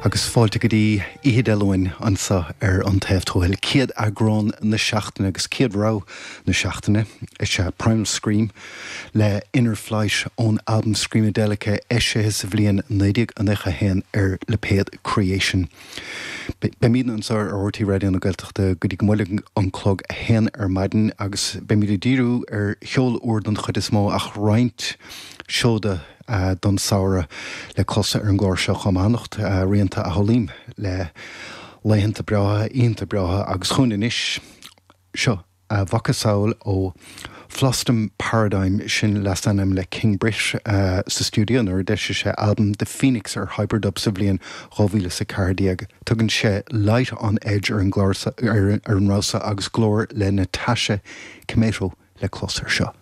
Agus fáilte go dtí oíche Dé Luain anseo ar An Taobh Tuathail. Céad eagrán na seachtaine agus céad rogha na seachtaine is ea Primal Scream le Inner Flight ón albam Screamadelica eisithe sa bhliain 1991 ar lipéad Creation. Beimidne anseo ar RTÉ Raidió na Gaeltachta go dtí go mbuailfidh an clog a haon ar maidin agus beimid ag díriú ar cheol úr don chuid is mó ach roinnt seoda don samhradh le clos ar an gclár seo chomh maith. Anocht, rianta a shamhlaím le laethanta breátha, oícheanta breátha agus chugainn anois. Seo. A mhacasamhail ó Flostem Paradigm, sin leasainm le King Britt sa stiúideo nuair a d'eisigh sé albam The Phoenix ar Hyperdub sa bhliain 2014. Tugann sé Light on Edge ar an gclár ar an rogha seo agus glór le Natasha Kmeto le clos air seo.